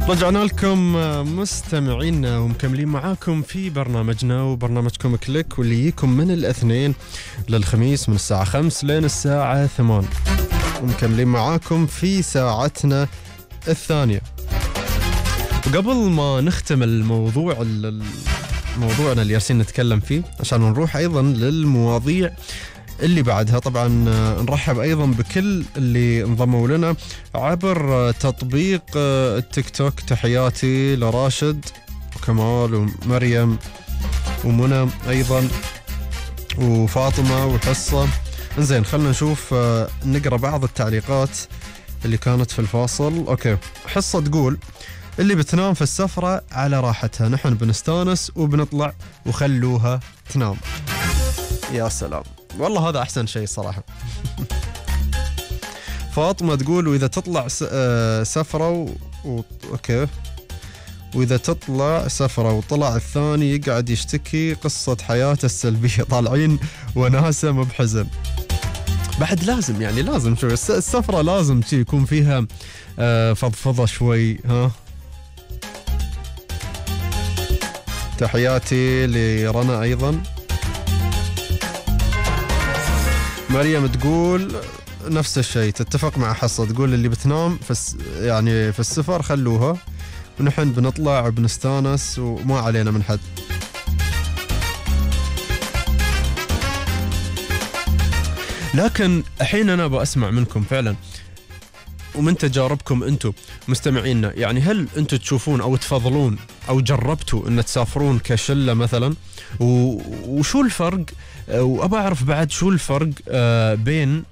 رجعنا لكم مستمعينا ومكملين معاكم في برنامجنا وبرنامجكم كليك، واللي يجيكم من الاثنين للخميس من الساعة 5 لين الساعة 8، ومكملين معاكم في ساعتنا الثانية. وقبل ما نختم موضوعنا اللي يارسين نتكلم فيه، عشان نروح أيضا للمواضيع اللي بعدها، طبعا نرحب أيضا بكل اللي انضموا لنا عبر تطبيق التيك توك. تحياتي لراشد وكمال ومريم ومنى أيضا وفاطمة وحصة. انزين، خلنا نشوف نقرأ بعض التعليقات اللي كانت في الفاصل. أوكي، حصة تقول اللي بتنام في السفرة على راحتها، نحن بنستانس وبنطلع وخلوها تنام. يا سلام، والله هذا أحسن شيء صراحة. فاطمة تقول وإذا تطلع سفرة أوكي، وإذا تطلع سفرة وطلع الثاني يقعد يشتكي قصة حياته السلبية، طالعين وناسة مو بحزن. بعد لازم لازم شوي السفرة لازم يكون فيها فضفضة شوي. ها، تحياتي لرنا أيضا. مريم تقول نفس الشيء، تتفق مع حصة، تقول اللي بتنام في السفر خلوها، ونحن بنطلع وبنستانس وما علينا من حد. لكن الحين أنا بأسمع منكم فعلا ومن تجاربكم أنتم مستمعينا، يعني هل أنتم تشوفون أو تفضلون أو جربتوا أن تسافرون كشلة مثلا؟ وشو الفرق؟ وأبى أعرف بعد شو الفرق بين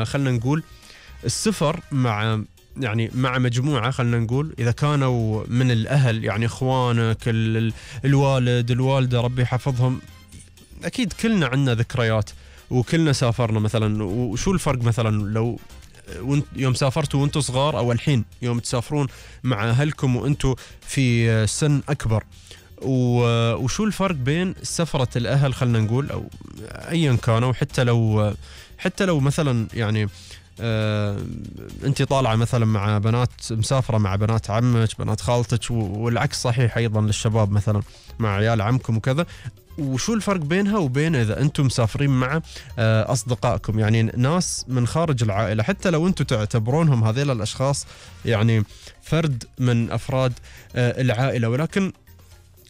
خلنا نقول السفر مع مجموعة، خلنا نقول إذا كانوا من الأهل، يعني إخوانك، الوالد، الوالدة، ربي يحفظهم. أكيد كلنا عنا ذكريات وكلنا سافرنا مثلا. وشو الفرق مثلا لو يوم سافرتوا وانتوا صغار أو الحين يوم تسافرون مع أهلكم وانتوا في سن أكبر؟ وشو الفرق بين سفرة الأهل خلنا نقول أو أيا كانوا، حتى لو مثلا يعني أنت طالعة مثلا مع بنات، مسافرة مع بنات عمك، بنات خالتك، والعكس صحيح أيضا للشباب مثلا مع عيال عمكم وكذا. وشو الفرق بينها وبين إذا أنتم مسافرين مع أصدقائكم، يعني ناس من خارج العائلة، حتى لو أنتم تعتبرونهم هذيل الأشخاص يعني فرد من أفراد العائلة، ولكن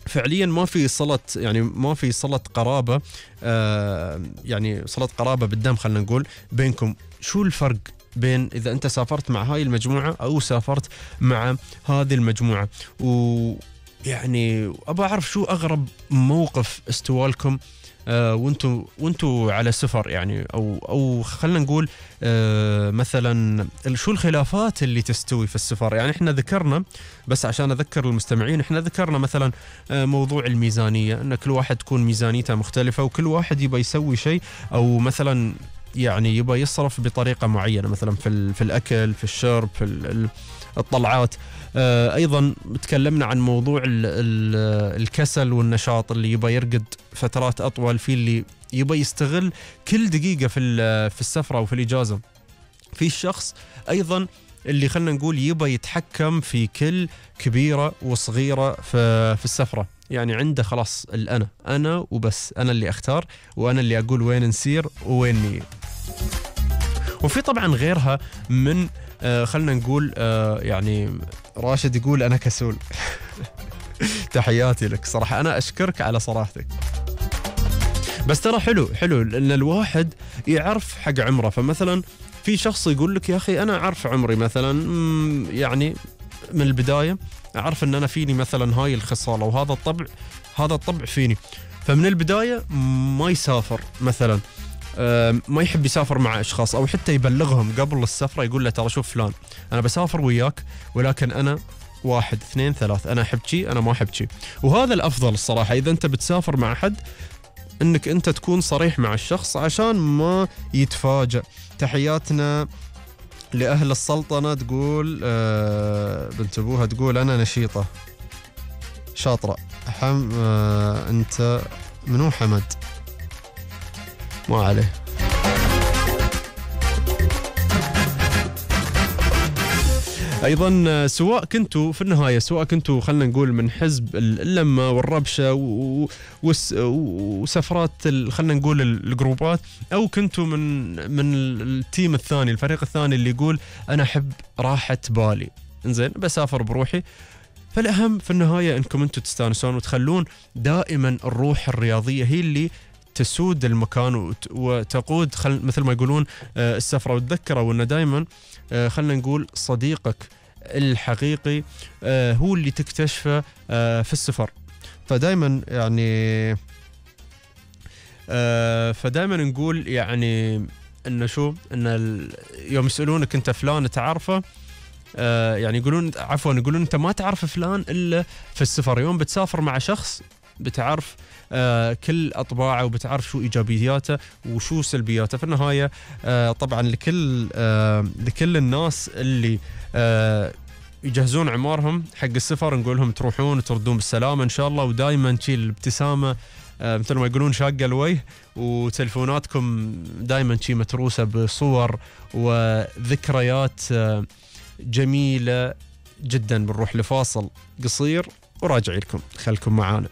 فعليا ما في صلة قرابة، يعني صلة قرابة بالدم خلنا نقول بينكم. شو الفرق بين إذا أنت سافرت مع هاي المجموعة أو سافرت مع هذه المجموعة؟ ويعني أبى أعرف شو أغرب موقف استوالكم وانتوا على سفر، يعني او خلنا نقول مثلا شو الخلافات اللي تستوي في السفر. يعني احنا ذكرنا، بس عشان اذكر المستمعين، احنا ذكرنا مثلا موضوع الميزانية، ان كل واحد تكون ميزانيته مختلفة، وكل واحد يبى يسوي شيء، او مثلا يعني يبى يصرف بطريقة معينة، مثلا في الأكل، في الشرب، في الطلعات. أيضا تكلمنا عن موضوع الكسل والنشاط، اللي يبى يرقد فترات أطول، في اللي يبى يستغل كل دقيقة في السفرة وفي الإجازة، في الشخص أيضا اللي خلنا نقول يبى يتحكم في كل كبيرة وصغيرة في السفرة، يعني عنده خلاص أنا وبس، أنا اللي أختار وأنا اللي أقول وين نسير وين نيجي. وفي طبعا غيرها من خلنا نقول يعني راشد يقول أنا كسول. تحياتي لك صراحة، أنا أشكرك على صراحتك. بس ترى حلو لأن الواحد يعرف حق عمره. فمثلا في شخص يقول لك يا أخي أنا أعرف عمري مثلا، يعني من البداية أعرف أن أنا فيني مثلا هاي الخصالة وهذا الطبع فيني، فمن البداية ما يسافر مثلا، ما يحب يسافر مع أشخاص، أو حتى يبلغهم قبل السفرة، يقول له ترى شوف فلان أنا بسافر وياك، ولكن أنا 1 2 3 أنا أحب شي أنا ما أحب شي. وهذا الأفضل الصراحة إذا أنت بتسافر مع حد، أنك أنت تكون صريح مع الشخص عشان ما يتفاجأ. تحياتنا لأهل السلطنة، تقول بنت أبوها تقول أنا نشيطة شاطرة. أنت منو حمد؟ ما عليه. ايضا سواء كنتوا في النهايه، سواء كنتوا خلينا نقول من حزب اللمه والربشه وسفرات خلينا نقول الجروبات، او كنتوا من التيم الثاني، الفريق الثاني اللي يقول انا احب راحه بالي، انزين بسافر بروحي. فالاهم في النهايه انكم انتم تستانسون وتخلون دائما الروح الرياضيه هي اللي تسود المكان وتقود مثل ما يقولون السفره. وتذكروا ان دائما خلينا نقول صديقك الحقيقي هو اللي تكتشفه في السفر. فدائما يعني فدائما نقول يعني انه شو، ان يوم يسالونك انت فلان تعرفه، يعني يقولون عفوا يقولون انت ما تعرف فلان الا في السفر. يوم بتسافر مع شخص بتعرف كل اطباعه وبتعرف شو ايجابياته وشو سلبياته. في النهايه طبعا لكل الناس اللي يجهزون عمارهم حق السفر نقول لهم تروحون وتردون بالسلامه ان شاء الله، ودائما تشيل الابتسامه مثل ما يقولون شاقه الوجه، وتلفوناتكم دائما شي متروسه بصور وذكريات جميله جدا. بنروح لفاصل قصير وراجع لكم، خلكم معانا.